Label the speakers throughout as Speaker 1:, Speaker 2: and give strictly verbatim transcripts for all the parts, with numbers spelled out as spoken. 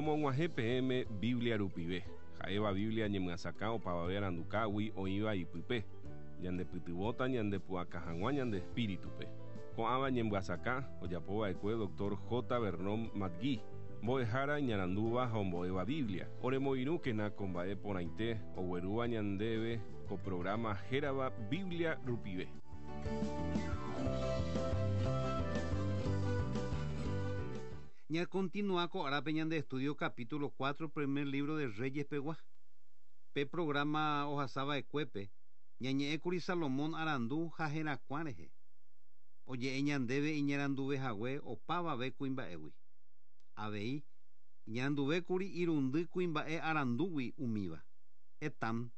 Speaker 1: Romog̃uahẽ peẽme Biblia rupive. Ha'éva Biblia ñemyasakã opavave arandukágui oĩva ipype. Ñandepytyvõta ñandepu'aka hag̃ua ñande espíritupe. Ko'ãva ñemyasakã ojapova'ekue Doctor J. Vernon McGee, mbo'ehára iñarandúva ha ombo'éva Biblia. Oremoirũkena ko mba'e porãite oguerúva ñandéve ko programa hérava Biblia rupive.
Speaker 2: Ña continúa ko árape ñande estudio capítulo cuatro primer libro de Reyes pegua. Pe programa ohasava'ekuépe ñañe'ẽkuri Salomón arandu ha herakuã rehe. Oje'e ñandéve iñaranduvehague opavave kuimba'égui. Avei iñaranduvékuri irundy kuimba'e arandúgui umíva. Etam,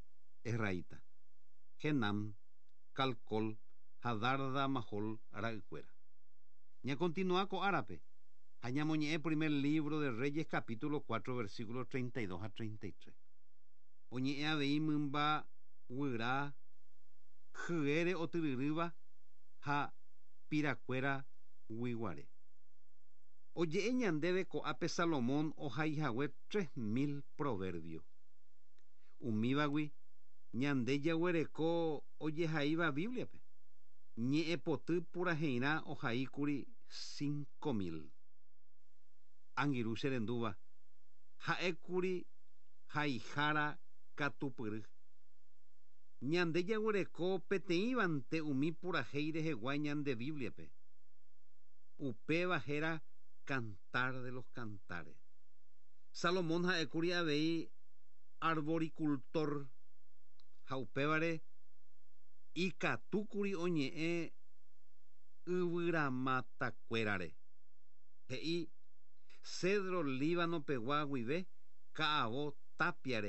Speaker 2: Esraíta, Genam, Calcol ha Darda Mahol ra'ykuéra. Ña continúa ko árape. Ha ñamoñe'ẽ primer libro de Reyes capítulo cuatro versículos treinta y dos a treinta y tres. Oñe'ẽ avei mymba guyra hyére otyryrýva ha pirakuéra guiguare. Oje'e ñandéve ko'ápe Salomón ohaihague tres mil proverbio. Umívagui ñande jaguereko ojehaíva Bibliape. Ñe'ẽpoty puraheirã ohaíkuri cinco mil. Angirũ che rendúva ha'ékuri haihára katupyry. Ñande jaguereko peteĩvante umi purahéi rehegua ñande Bibliape. Upéva héra Cantar de los Cantares. Salomón ha'ékuri avei arboricultor ha upévare ikatúkuri oñe'ẽ yvyramatakuérare. He'i cedro Líbano pegua guive ka'avo tapiare